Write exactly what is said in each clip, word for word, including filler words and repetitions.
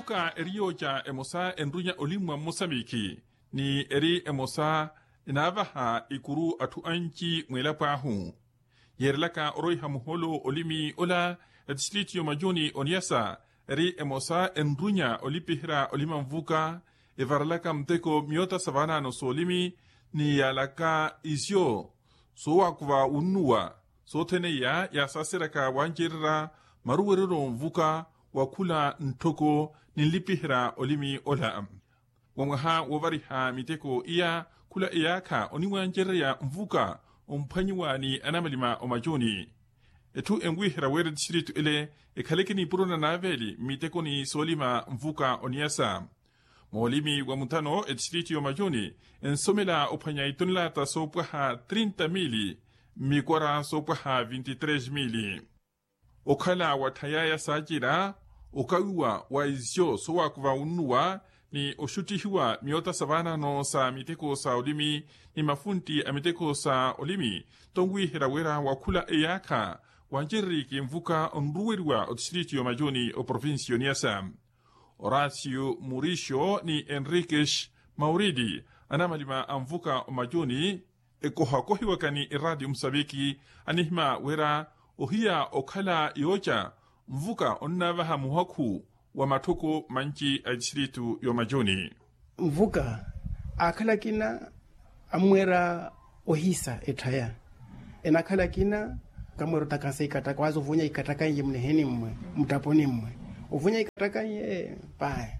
Ka eri yooca emosa enrunya olimmwa mmosamikhi ni eri emosa enaavaha ikuru atthu anci mweelapo ahu. Yeerelaka oroiha muhoolo olimi ola etistritu y'omajuni oniyasa eri emosa enrunya olipiherya olima nvuka, evarelaka muteko myoota sa vaanaano s'olimi ni yaalaka isyo soowakuva wunnuwa. Sothene iya yaasaseryaka wancererya maruwereryo nvuka wa khula ntthoko ni nlipiherya olimi ola. Wa mwaha woovariha miteko iya khula eyaakha oniwancererya nvuka omphwanyiwa ni anamalima omacuni. Etthu enwiherya wira etistritu ele ekhaleke nipuro na naaveeli mmitekoni soolima nvuka oniyasa. Moolimi wa muthano etistritu y'omacuni ensomela ophwanya itonelata soopwaha trinta mili mmikwara soopwaha vinti tres mili. Okhala watthayaya saacira okawiwa wa isyo soowakuva wunnuwa ni oxuttihiwa myoota sa vaanaano sa miteko sa olimi ni mafuntti a miteko sa olimi, tonwiherya wira wa khula eyaakha wancereriki nvuka onruweriwa otistritu y'omacuni oprovincia y'oniyasa. Horacio murixio ni henriques mauridi anamalima a nvuka omacuni ekohakohiwaka ni eraatiyo musaviki anihima wira ohiya okhala yooca nvuka onnaavaha muhakhu wa matthoko manci a etistritu y'omacuni. Nvuka aakhala akina ammweera ohisa etthaya. Enakhala akina kamweera otakasa ikataka waaza ovonya ikataka iye muniheni mmwe muttaponi mmwe ovonya ikataka iye. Pahi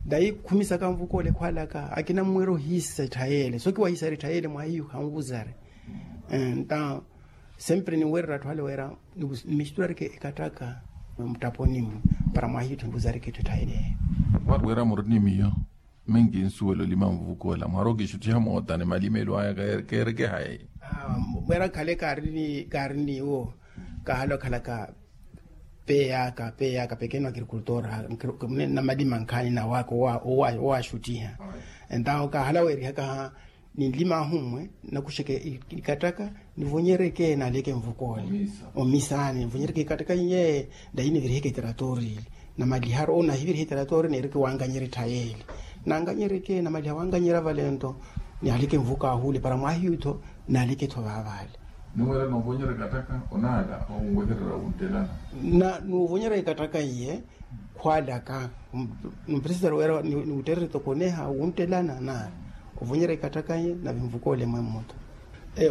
dayi khumisaka nvuka ole khwalaka akina ammweera ohisa etthaya ele sookiwahisari etthaya ele mwahiyu hanvuzari. Nta sempre ninweerera atthu ale wira nimixitularike ekattaka muttaponi mmwe para mwahiyu etthu nvuzarike etthu etthaya ele. Wira muri ni miyo minki nsuwela olima nvuka ola mwaroka exuttiha moota ni malimelo aya keerekehayi. Mweera khale kaari ni iwo kahala okhalaka peeyaka peeyaka pequeno agricultor. Namalima nkhaani nawaka owaaxuttiha entawo kahala weerihaka ninlima ahu mmwe nakuxeke ikattaka nivonyereke naaleke nvuka ole omisani nivonyereke ikattaka iye. Dayi niviriheke eteratori ile namaliharu onahiviriha eteratori neereke wankanyerya etthaya ele nankanyereke namaliha wankanyerya vale nto naaleke nvuka ahu ole para mwahiyu tho naaleke tho vaavale. Niwela novonyerya ikattaka onaala owehererya wuntelana. Na nuvonyerya ikattaka iye khwalaka. Npresitari wira niwuttererya tokoneha wunttelana na ovonyerya ikattaka iye navinvuka ole mwemmo tho.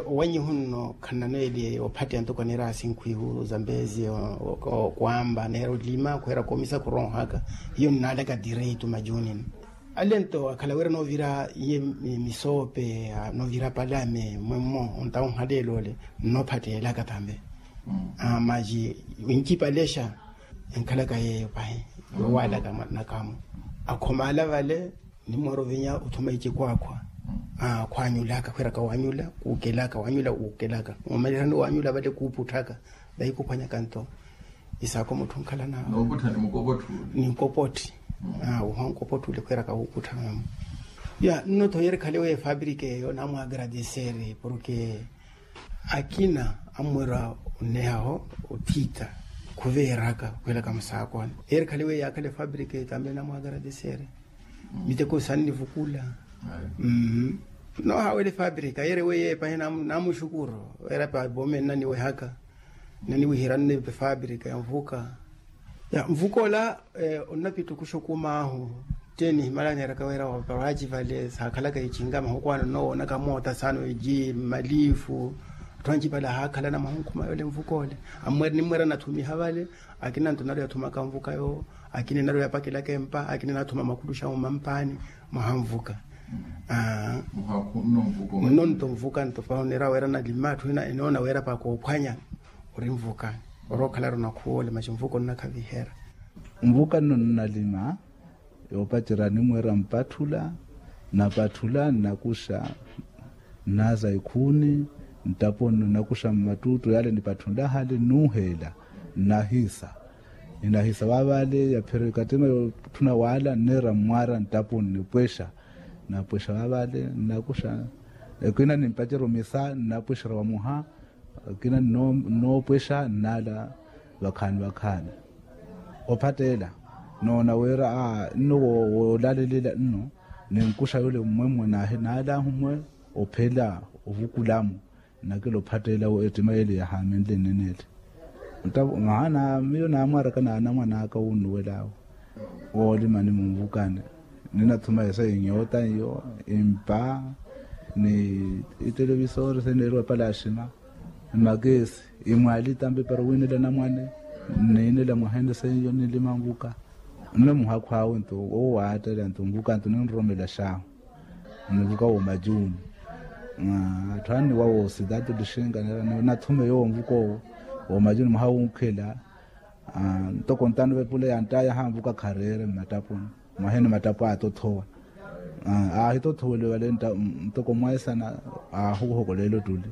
Owanyihu nno khananweeli ophatteya ntoko aneera asinkhwihu zambezi okwamba aneera olima khweera koomisa khuronhaka hiyo nnaalaka direitu majuni nno. Ale nto akhala wira noovira iye misoope noovira palame mwemmo ontawo nhaleelo ole nnoophatteelaka tambe. Maji wincipalexa enkhalaka yeeyo pahi yowaalaka nakamu akhomaala vale. Nimweera ovinya othuma icikwaakhwa khwaanyulaka khwiiraka waanyula kuukelaka waanyula kuukelaka. Omalirani waanyula vale kuuputthaka dayi kuphwanyaka nto isaakho mutthu nkhalana ninkopotthi. Wuha nkopotthi ule khwiiraka wuuputthaka. Ya nno tho yeeri khale weyo efapirika eyo naamwaagradeseri porke akina ammweera onnehaho otthita khuveeraka khwiilaka musaakoni. Yeeri khale weyo yaakhala efapirika eyo tambe naamwaagradeseri. Miteko sannivukula. Noohaawela efapirika yeeri weyo epahi naamuxukuru. Weera pa voome nnaniwehaka nnaniwihira nne efapirika ya nvuka. Ya nvuka ola onnapittukuxa okumaahu. Tteeni himala neeraka wira waparaci vale saakhalaka ichinga mahuku ano nnowoonaka moota saano iji mmalifu. Atthu anci vale ahaakhalana mwaha onkhuma yoole nvuka ole ammweera nimmweera nathumiha vale. Akina nto naru yathumaka nvuka yoowo akina naru yapakelaka empa akina nathuma makuluxa omampaani mwaha nvuka. Nno nto nvuka nto pahi oneera wira nalima atthu ina enoona wira pakoophwanya ori nvuka. Orookhala ronakhuwa ole maxi nvuka onnakhavihera. Nvuka nno nnalima yoopacerya nimweera mpatthula. Napatthula nnakuxa nnaaza ikhuuni nttapo nno nnakuxa mmattuuttu yaale nipatthunla hale nnuuheela nnahisa. Ninahisa vaavale yaphira ikattima yootthuna waala nneera mmwaara nttapo nnipwexa. Napwexa vaavale nnakuxa ekina nimpacerya omisa nnapwexerya vamuha. Akina nnoopwexa nnaala vakhaani vakhaani ophatteela. Noona wira a nno woolalelela nno, ninkuxa yule mmwemmwe naahi naalahu mwe ophela ovukulamu. Nnakela ophatteela ettima yeele yahaamenle nnene ele. Maana miyo naamwaraka n'anamwan'aka wunnuwel'awe woolima ni munvukani. Ninathuma esa inyoota iyo, impa, ni itelevisori seneeriwa palaxima, mmakeesi, imwali tampi para owiinela anamwane, nniinela mwaha ene seiyo ninlima nvuka. Nno muhakhu awe nto owo waattela nto nvuka nto ninroromela xaahu. Nvuka woomajuuni. Atthu anniwa woositatu lixinka nera nathuma eyo wonvuka owo. Woomajuuni mwaha wunkhela, ntoko ntano vepula yanttayaha nvuka khareere mmattapuni. Mwahene mattapu aatothowa, aahitothoweliwe vale ntoko mwaisana, aahuhokolela ottuli.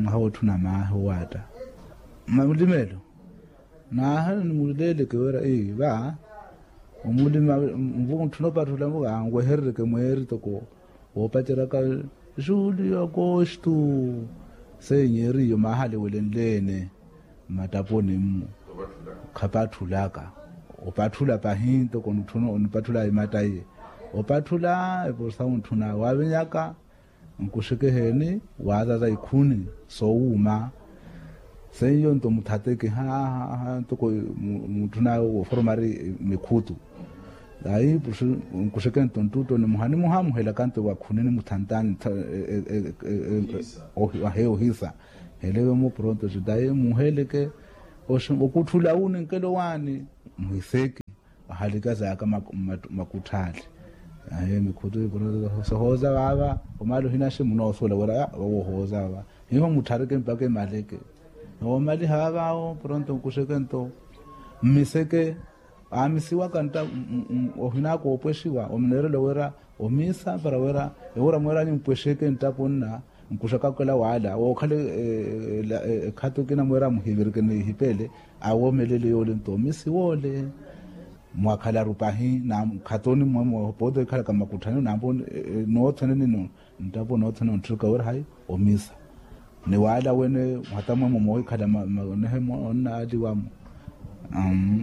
Mwaha wootthuna maahi owaatta. Malimelo. Naahala nimuleeleke wira va omulima nvu ntthuna opatthula nvu anweherereke mweeri toko woopaceryaka, julio agosto. Seiyo eriyo maahaliwelenle-ene mmattapuni mmu. Khapatthulaka. Opatthula pahi ntoko ntthu onipatthula imatta iye. Opatthula eposa untthuna waavinyaka. Nkuxeke eheeni waazaza ikhuni soowuuma. Seiyo nto muthateke haha ntoko mutthuna woforomari mikhutu. Ayi nkuxeke nto nttutto nimuha nimuha muhelaka nto wa khuni nimuthantani. Ahe ohisa helewe mu pronto judaye muheleke. Okutthula wu ninkelo waani muhiseki. Ahalika zaka makutthaali. Aye mikhutu sohooza vava omali ohinaxe munoosuwela wira wohooza vava. Hiho mutthareke mpaka emaleke. Noomaliha vava awo pronto nkuxeke nto mmiseke. Aamisiwaka ntta ohinaka oopwexiwa omuneerela wira omiisa para wira ewura mweeranyu mpwexeke nttapo nna. Nkuxaka okela waala wookhala ekhato ekina mweera muhivirike nihipeele. Awoomelele yoole nto omisi woole. Mwakhalaru pahi na mkhatoni mmwe mwe pooti ekhalaka mmakutthanyo nampo noothene nino nttapo noothene ontthuka wira hayi omisa. Ni waala wene mwatamwemo moohikhala manehe onnaaliwamo.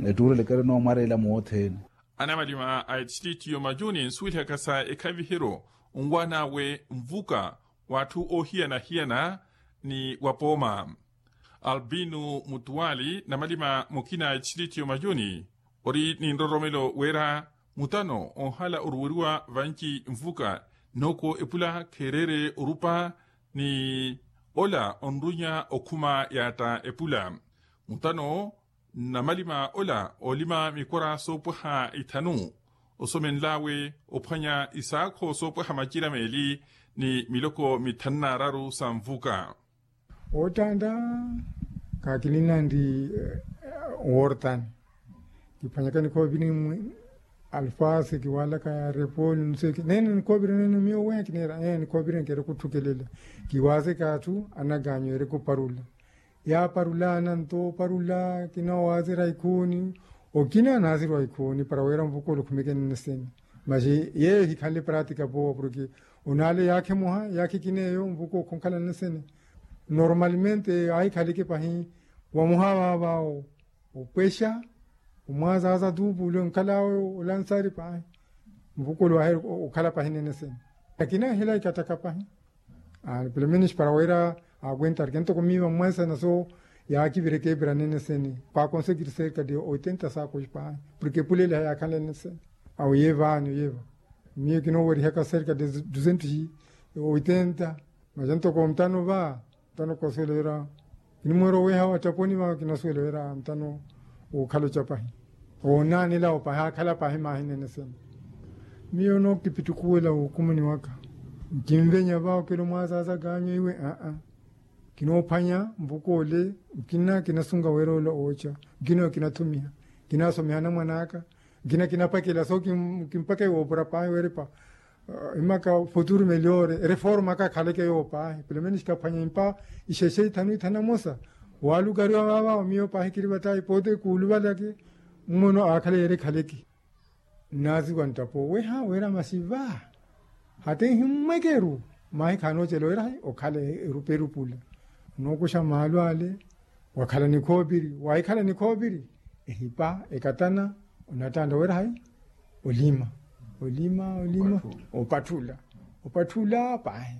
Ettuurelekere noomwareela moothene. Anamalima a ettittittiyo majuni nsuwelihaka sa ekhaviheryo nwaan'awe nvuka w'atthu oohiyana-hiyana ni wa pooma. Albinu mutuwali namalima mukina a ettittittiyo majuni ori ni nroromelo wira mutano onhala oruweriwa vanci nvuka nooko epula kheereere orupa ni ola onrunya okhuma yaatta epula. Mutano namalima ola oolima mikora soopwaha ithanu osomenl'awe ophwanya isaakho soopwaha macira meeli ni miloko mithanu n'araru sa nvuka. Ottanta kakilinna ndi wortani kiphwanyaka nikhooviri mwe alfasi kiwalaka repoli nseeke neene nikhooviri neene miyo weha kineera ee nikhooviri nkeera kutthukelela. Kiwaaseke atthu anaganyu eri kuparula yaaparulana nto oparula kina waasira ikhuuni. Okina anaasirwa ikhuuni para wira nvuka ole okhumeke nnesene. Maxi yeeyo ehikhanle pratika powa porke onaale yaakhe muha yaakhe kina eyo nvuka okhonkhala nnesene. Normalmente aahikhaleke pahi wamuha vaavawo opwexa omwazaza tuupu ole onkhal'awe olansari pahi. Nvuka ole waaheri okhala pahi nene sene akina ehela ikattaka pahi. Pelo menos para wira akwenta arke ntoko miiva mmwensana so yaakivireke epira nene sene pakonsekiri serka de oitenta sako pahi. Porke epuleliha yaakhanle nene sene awo yeevaani oyeeva miyo kinoowerihaka serka de duzentos oitenta. Maja ntoko ntano va ntano kosuwela wira kinimweera oweha wattaponi va kinasuwela wira ntano wokhala ocapahi. Woonaanela opahi akhala pahi mahi nene sene. Miyo nookipittukuwela wukumuni waka nkinvenya va okela omwazaza kaanyu iwe aa. Kinoophwanya nvuka ole nkina kinasunga wira ole ooca nkina kinatthumiha kinasomiha anamwan'aka. Nkina kinapakela so kimpaka iwoopura pahi weeripa imaka futuru meliore ereforma aka akhaleke yoopahi pelo menos kaphwanya impa ixexe ithanu ithanu amosa. Walukariwa vava omiyo pahi kiri vata ipote kuuluvalake mmono aakhala yeeri ekhaleke. Nnaasiwa nttapo weha wira masi va hati ehimmwekeru mahi khaanoocela wira okhala erupa erupula. Onookuxa maalu ale wakhala nikhoopiri wahikhala nikhoopiri ehipa ekatana. Onattanta wira hayi? Olima. Olima olima. Opatthula. Opatthula pahi.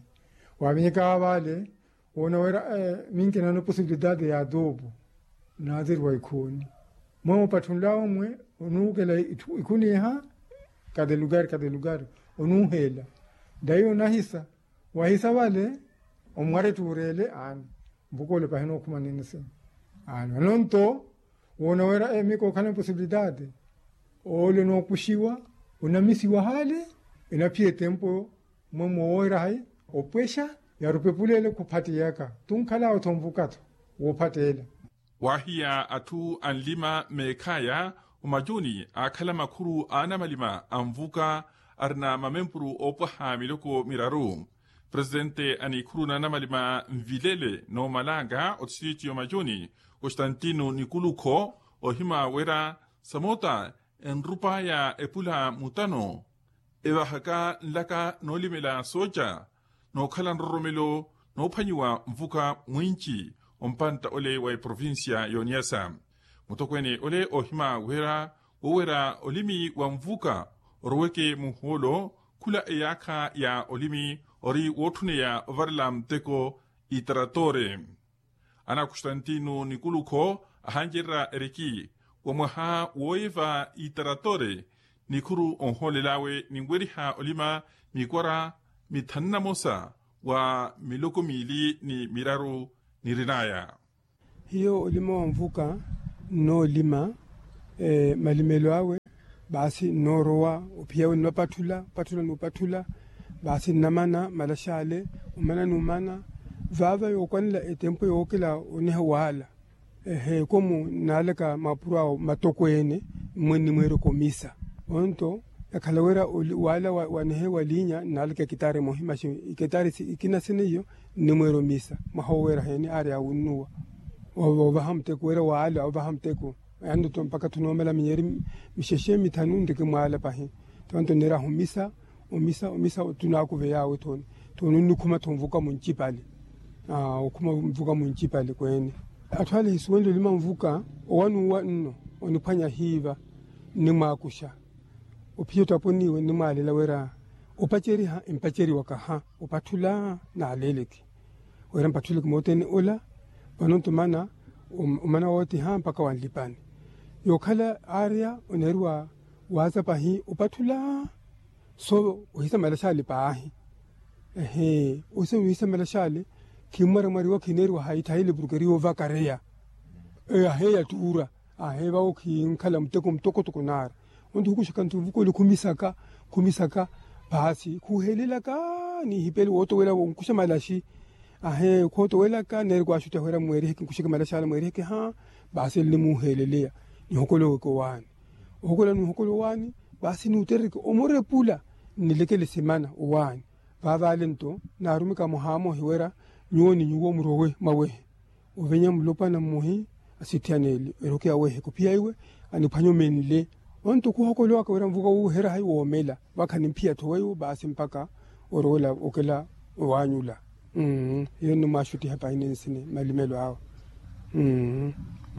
Wavinyeka vale. Woona wira minki nano posibilidade ya adopo. Naatiri wa ikhuuni. Mwe opatthunla omwe onuukela ikhuniha. Kade lukari kade lukari. Onuuheela. Dayi onahisa. Wahisa vale. Omwarettuurele aani. Mpukoole pahina okhuma nini sini. Aani anonto. Woona wira emiko okhala posibilidade. Ole onookuxiwa. Onamisiwa hale. Enaphiya etempo. Mwe mooweera hayi? Opwexa. Yaari opepulele khuphattiyaka. Tunkhala otho onvuka-tho. Woophatteela. Waahiya atthu anlima meekhaya. Omacuni aakhala makhuru a anamalima anvuka. Arina mamempuru oopwaha miloko miraru. Presitente a nikhuru na anamalima nvilele noomalanga otistriti y'omacuni, constantino nikulukho, ohima wira samota enrupaya epula mutano evahaka nlaka noolimela sooca, nookhala nroromelo noophwanyiwa nvuka mwinci ompantta ole wa eprovincia y'oniyasa. Mutokweene ole ohima wira woowera olimi wa nvuka oroweke muhoolo, khula eyaakha ya olimi ori wootthuneya ovarela muteko. Itaratore. Ana constantino nikulukho ahancererya eriki wa mwaha wooyiva itaratore, nikhuru onhoolel'awe ninweriha olima mikwara mithanu na mosa wa miloko miili ni miraru nirin'aya. Hiyo olima wa nvuka nnoolima malimelo awe. Baasi nnoorowa ophiya awe nnopatthula opatthula n'upatthula. Baasi nnamana malax'ale omana n'umana. Vaava yookwanela etempo yookela oneha waala. Ehe ekomu nnaalaka maapuro awo matokweene. Mmwe nnimweerya okomisa onto yakhala wira waala wanehe waliinya nnaalaka ekitaari emohi maxi ekitaari ikina sina iyo. Nnimweerya omisa mwaha oweera heeni aari awunnuwa. Ovaha muteko wira waala ovaha muteko. Yaani oto mpakha thunoomela minyeeri mixexe mithanu nriki mwaala pahi. Tonto nneeraha omisa omisa omisa tunaakuveya awe thooni. Thooni onnikhuma-tho nvuka muncipale. Okhuma nvuka muncipale kweene. Atthu ale ehisuwenle olima nvuka owanuwa nno oniphwanya hiiva. Nnimwaakuxa ophiya ottaponiwe nnimwaalela wira opaceriha empaceriwaka ha opatthula. Naaleleke wira mpatthuleke moothene ola. Vano nto omana omana wootiha mpakha wanlipani. Yookhala aarya oneeriwa waaza pahi opatthula. So ohisa malax'ale paahi. Ehe ohisa ohisa malax'ale. Khimmwaramwariwa khineeriwa hayi thayile porke eri yoovakareya. Ahe yattuura. Ahe vawo khinkhala muteko mutokotoko naari. Onto khukuxaka nto nvuka ole khumisaka khumisaka. Paasi khuhelelaka nihipele wootowela wonkuxa malaxi. Ahe khootowelaka neeri kwaaxuttiha wira mweeriheke nkuxeke malaxi ala mweeriheke ha. Baasi nnimuheleleya nihokoloweke owaani. Ohokola nihokola owaani. Baasi nuuterereke omurepula nnilekele simana owaani. Vaavaale nto naarumika muhaamohi wira nyuwo ni nyuwo murowe mwawehe. Ovenya mulopwana mmohi asittihaneele eroki awehe khuphiya iwe aniphwanya omenle. Onto khuhokolowaka wira nvuka wuuhera hayi woomela vakha nimphiya-tho weiwo baasi mpakha orowela okela owaanyula. Iyo nnimwaaxuttiha pahi ninsini malimelo awe.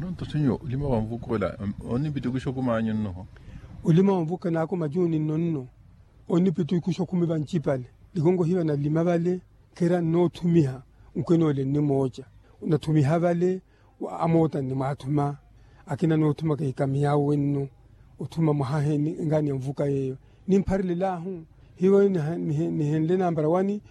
Onto senhor olima wa nvuka ola onnipitikuxa okhumanyu nnoho? Olima wa nvuka naakho majuni nno nno onnipitikuxa okhumi vancipale. Likonko hiiva nalima vale khera nnoothumiha. Nkhwenoole nnimooca nathumiha vale. Amoota nnimwaathuma akina noothumaka ikamiyawe nno othuma mwaha heeni engaani ya nvuka yeeyo. Nimpharelelaahu hiivo nihenle nambara wani.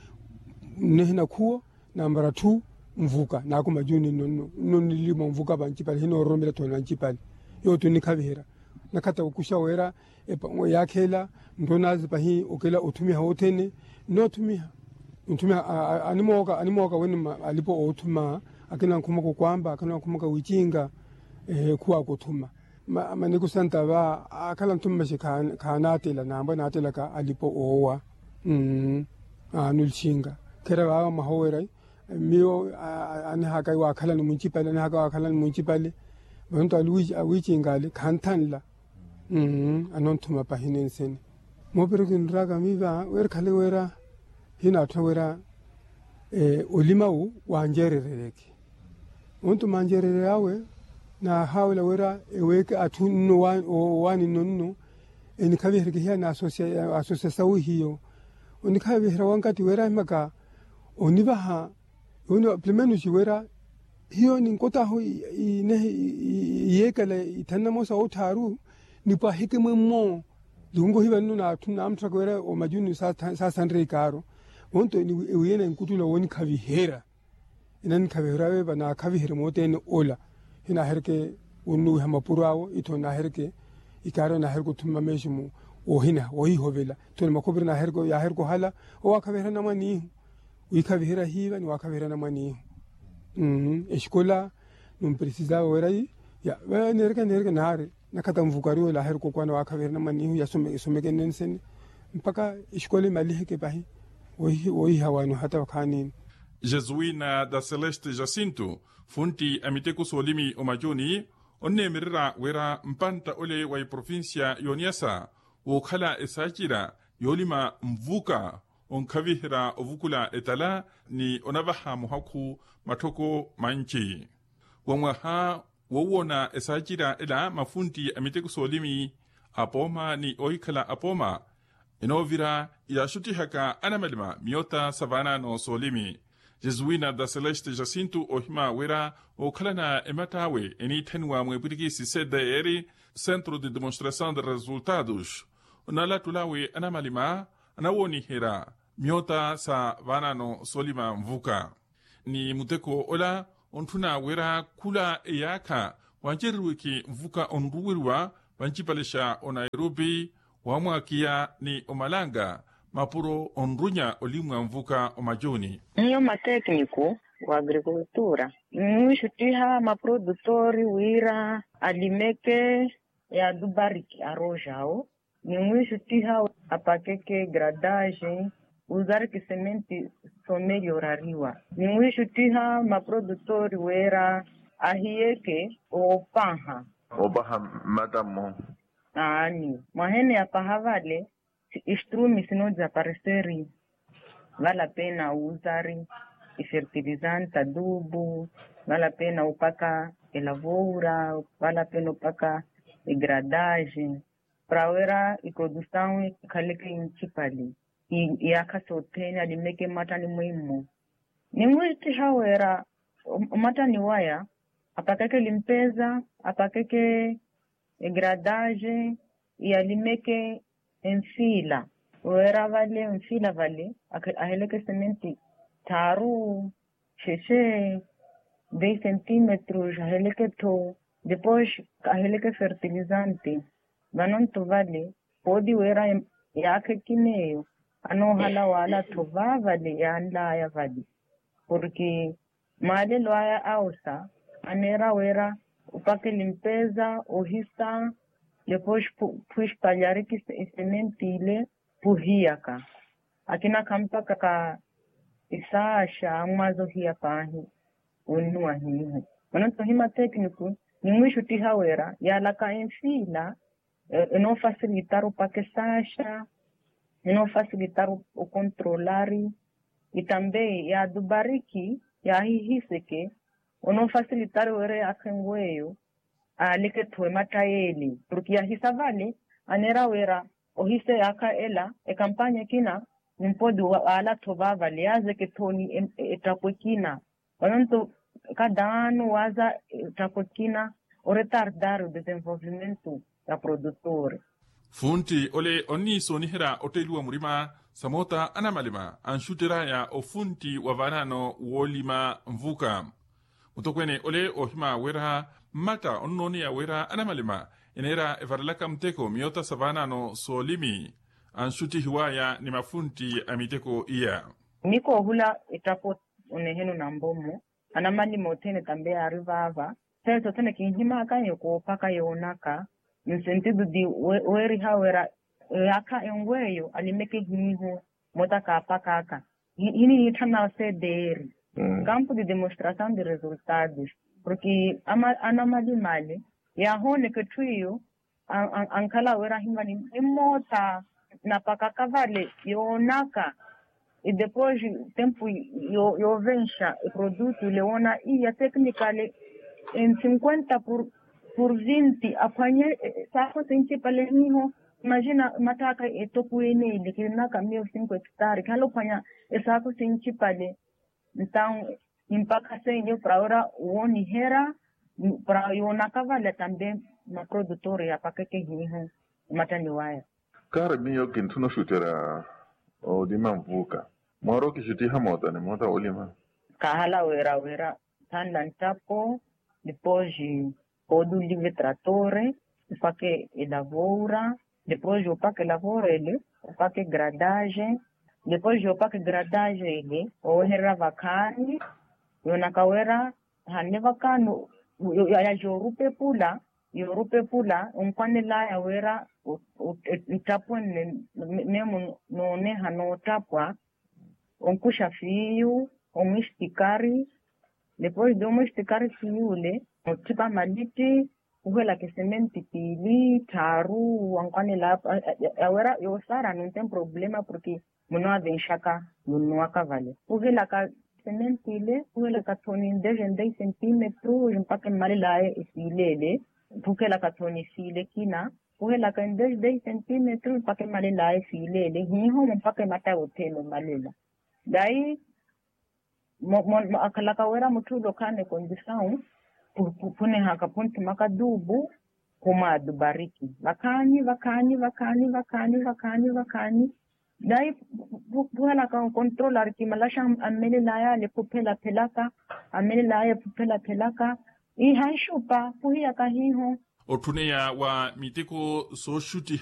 Nihina khuwo nambara thu nvuka naakho majuni nno nno nno nnilima onvuka vancipale hinoororomela thooni vancipale. Yooto nnikhaviherya nakhatta okuxa wira epa yaakheela nto naazi pahi okela othumiha wothene. Nnoothumiha nthumiha animooka animooka wene alipo oothuma akina nkhumaka okwaamba akina nkhumaka wicinga. Khuwaaka othuma maniko santa va akhala nthuma maxi khaanaatela naambwa naatelaka alipo oowa. Nulixinga khera vaava mwaha oweera miyo anihaka waakhalani muncipale anihaka waakhalani muncipale. Vanonto awiicinga ale khanthanla. Anonthuma pahi ninsini moopiro kiniraka miiva wira khale wira hinaatthuna wira olima wu wanjeererereke. Onto manjeerereryawe Nahaawela wira eweeke atthu nno owaani nno nno enikhavihereke hiya na asosiasawu hiyo. Onikhaviherya wankatti wira ahimaka onivaha. Yoona plimenusi wira hiyo ninkottahu inehi iyeekela ithanu na moosa otthaaru nipwahike mwemmo. Likunkohiva nno na atthu namutthaka wira omajuni saasanre ikaaro. Vonto ewiiyana enkuttula wonikhaviherya. Enanikhaviherya weepa naakhaviherye moothene ola. Hinaahereke onnuwiha mapuro awo itho naahereke ikaari naahereke othumma meeximu woohina woohihovela. Itho ni makhopiri yaahereke ohala owaakhaviherya namwanihu. Wiikhaviherya hiiva ni waakhaviherya namwanihu. Exikola numperisizava wira yi ya neereke neereke naari. Nakhatta nvukariwe laahereke okwana waakhaviherya namwanihu yasomekene nsene mpakha exikola imaliheke pahi. Woiha waani ohatta wakhaanini. Jesuina da celeste jacinto funtti a miteko soolimi omacuni onneemererya wira mpantta ole wa eprovincia y'oniyasa wookhala esaacira yoolima nvuka onkhaviherya ovukula etala ni onavaha muhakhu matthoko manci. Wa mwaha woowona esaacira ela mafuntti a miteko soolimi apooma ni oohikhala apooma enoovira yaaxuttihaka anamalima miyota sa vaanaano soolimi. Jesuina da celeste jacinto oohima wira ookhalana ematta awe eniitthaniwa mwepwirikisi cdr centro de demonstração de resultados onalattulawe anamalima anawooniherya miyota sa vaanaano soolima nvuka. Ni muteko ola ontthuna wira khula eyaakha wancereriweke nvuka onruweriwa vancipalexa onairopi wamwakiya ni omalanga mapuro onrunya olimwa nvuka omacuni. Nyo matekniku wa agrikultura nwiixuttiha maprodutori wira alimeke yaadubariki aroxawo. Nimwiixuttiha apakeke gradaxe uzariki sementi somelhorariwa. Nimwiixuttiha maprodutori wira ahiyeke oopaha. Oopaha mmatta mmo. Aani mwahene yapaha vale. Istrumi sinozapareseri. Vale apena uzari ifertilizante adubu. Vale apena upaka elavoura. Vale apena upaka igradaxe. Para wira iprodusawu ikhaleke incipali iyaakha sothene alimeke mmattani mwimmo. Nimwiittiha wira omattani waya apakeke limpeza apakeke egradaxe iyalimeke enfila wira vale enfila vale aheleke sementi thaaru xexe dez centímetros aheleke-tho depois aheleke fertilizante. Vanonto vale pooti wira yaakha ekina eyo anoohala waala-tho vaavale yaanlaya vale. Porke maalelo aya awosa aneera wira opaka elimpeza ohisa depois phwispalhariki esementi ile phuhiyaka akina khampakaka isaaxa ammwaza ohiya paahi. Onnuwa hiihi mananto hima tekniku nimwiixuttiha wira yaalaka enfiila enoofasilitar opaka esaaxa enoofasilitar okontrolari itambei yaadubariki yaahihiseke onoofasilitar wira yaakha enweyo aaleke-tho ematta yeeli porke yahisa vale aneera wira ohisa eyaakha ela ekampanya ekina nimpodi waala-tho vaavale yaazeke-tho ni ettakhu ekina. Vananto kadaano waaza ettakhu ekina oretardar odesenvolvimento ya produtor. Funtti ole onniisooniherya otteliwa murima samoota anamalima anxuttery'aya ofuntti wa vaanaano woolima nvuka. Mutokweene ole oohima wira mmatta onnooneya wira anamalima eneera evarelaka muteko miyota sa vaanaano soolimi anxuttihiw'aya ni mafuntti a miteko iya. Nikoohula ettakhu oneheno nambomo anamalima othene tambe yaari vaava. Sene sothene kinhimaka nyo koophaka yoonaka nsentido di weeriha wira eyaakha enweyo alimeke hiiho mota kaapakaka hiniitthan'awe cdr campo de demonstração de resultados porke anamalima ale yaahooneka etthu iyo ankhala wira ahimani nimmoota napakaka vale yoonaka edepois tempu yoovenxa eprodutu ile woona iya tecnicale. Cinquenta por vinti aphwanye. Saakho sinci pale hiho. Imagina mattaaka etoku ene ile kirinaka miyo cinco hectare khala ophwanya esaakho sinci pale. Ntau nimpakha senyo para wira wooniherya para yoonaka vale tambe maprodutor yapakeke hiho omattani waya. Kaari miyo kintthuna oxutterya olima nvuuka. Mwaari okixuttiha moota ni moota woolima. Kaahala wira wira thanla nttapo depois oolulive tratore opake elavoura. Depois opake elavoura ele opake gradage. Depois opake gradage ele owehererya vakhaani. Yoonaka wira hanne vakhaani ya yoorupepula yoorupepula onkwanelaya wira nttapwe nne. Meemu nooneha noottapwa onkuxa fiiyu omwistikari. Depois de omwistikari fiiyu ole otthipa malitti ohelaka esementi piili tthaaru wankwanela. Awira yoosaara nunten problema porke munoovenxaka munnuwaka vale ohelaka esementi ile ohelaka thoni ndeje ndei sentimetru mpaka emmalelaya esiile ele. Ohelaka thoni esiile ekina ohelaka ndeje ndei sentimetru mpaka emmalelaya esiile ele hiho mpaka ematta yothene ommalela. Dayi akhalaka wira mutthu ule okhaana ekondisawu khunihaka khunthumaka duubu khumwaadu bariki vakhaani vakhaani vakhaani vakhaani vakhaani vakhaani. Dayi khuhelaka onkontrola arikimalaxa ammelelaya ale khuphelaphelaka ammelelaya khuphelaphelaka. Ihanxupa khuhiyaka hiho. Otthuneya wa miteko sooxutti